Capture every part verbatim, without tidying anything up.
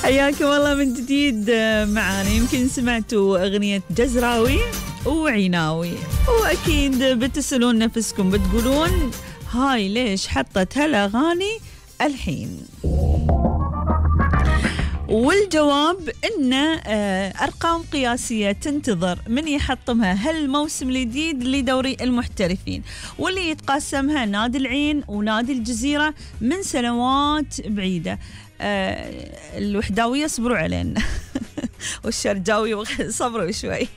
حياكم الله من جديد معانا. يمكن سمعتوا أغنية جزراوي وعيناوي، وأكيد بتسألون نفسكم بتقولون هاي ليش حطت هالأغاني الحين؟ والجواب إن أرقام قياسية تنتظر من يحطمها هالموسم الجديد لدوري المحترفين، واللي يتقاسمها نادي العين ونادي الجزيرة من سنوات بعيدة. أه الوحداوية صبروا علينا والشرجاوي صبروا شوي.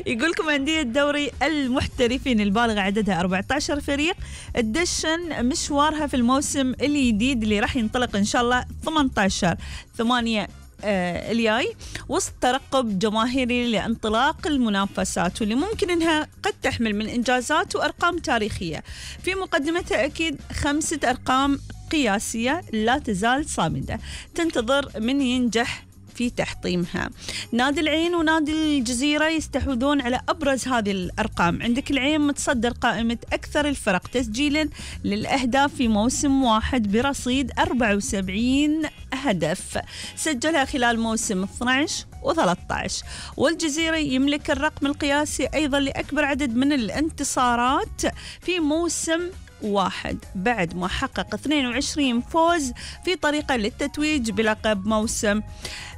يقول لكم أندية دوري المحترفين البالغ عددها أربعة عشر فريق تدشن مشوارها في الموسم الجديد اللي راح ينطلق إن شاء الله ثمانية عشر ثمانية آه الجاي، وسط ترقب جماهيري لانطلاق المنافسات، واللي ممكن إنها قد تحمل من إنجازات وأرقام تاريخية. في مقدمتها أكيد خمسة أرقام قياسية لا تزال صامدة تنتظر من ينجح في تحطيمها. نادي العين ونادي الجزيرة يستحوذون على أبرز هذه الأرقام. عندك العين متصدر قائمة أكثر الفرق تسجيلا للأهداف في موسم واحد برصيد أربعة وسبعين هدف سجلها خلال موسم اثني عشر وثلاثة عشر، والجزيرة يملك الرقم القياسي أيضا لأكبر عدد من الانتصارات في موسم واحد بعد ما حقق اثنين وعشرين فوز في طريقة للتتويج بلقب موسم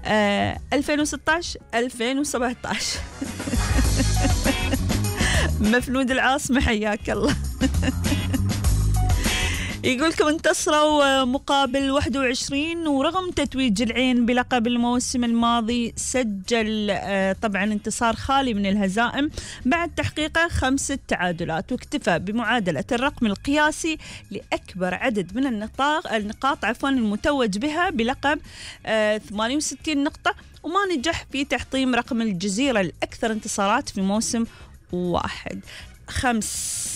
آه ألفين وستة عشر ألفين وسبعة عشر. مفنود العاصمة حياك الله. يقولكم انتصروا مقابل واحد وعشرين، ورغم تتويج العين بلقب الموسم الماضي سجل طبعا انتصار خالي من الهزائم بعد تحقيقه خمسة تعادلات، واكتفى بمعادلة الرقم القياسي لأكبر عدد من النقاط النقاط عفوا المتوج بها بلقب ثمانية وستين نقطة، وما نجح في تحطيم رقم الجزيرة الأكثر انتصارات في موسم واحد. خمس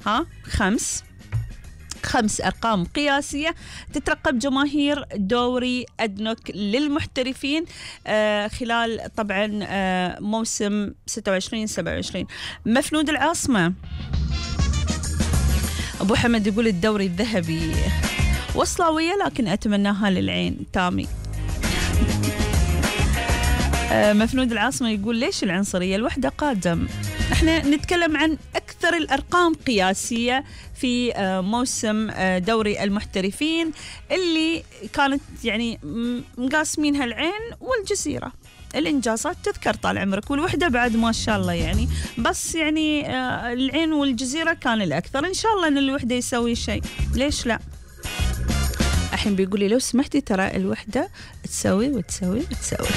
ها خمس خمس أرقام قياسية تترقب جماهير دوري أدنوك للمحترفين آه خلال طبعا آه موسم ستة وعشرين سبعة وعشرين. مفنود العاصمة أبو حمد يقول الدوري الذهبي وصلاوية لكن أتمناها للعين. تامي آه مفنود العاصمة يقول ليش العنصرية؟ الوحدة قادم. احنا نتكلم عن أكثر الأرقام قياسية في موسم دوري المحترفين اللي كانت يعني مقاسمينها العين والجزيرة. الإنجازات تذكر طال عمرك، والوحدة بعد ما شاء الله يعني، بس يعني العين والجزيرة كان الأكثر. إن شاء الله أن الوحدة يسوي شيء، ليش لا؟ الحين بيقولي لو سمحتي ترى الوحدة تسوي وتسوي وتسوي.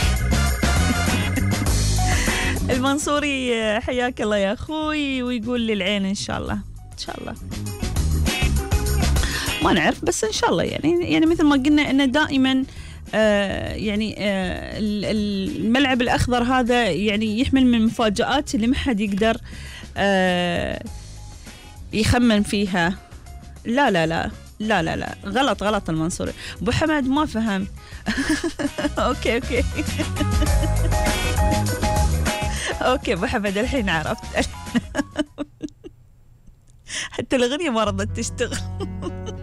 المنصوري حياك الله يا أخوي، ويقول للعين إن شاء الله إن شاء الله ما نعرف، بس إن شاء الله يعني يعني مثل ما قلنا إنه دائما آه يعني آه الملعب الأخضر هذا يعني يحمل من مفاجآت اللي ما حد يقدر آه يخمن فيها. لا لا لا لا لا لا غلط غلط المنصوري. أبو حمد ما فهم. أوكي أوكي أوكي أبو حمد الحين عرفت. حتى الأغنية ما رضت تشتغل.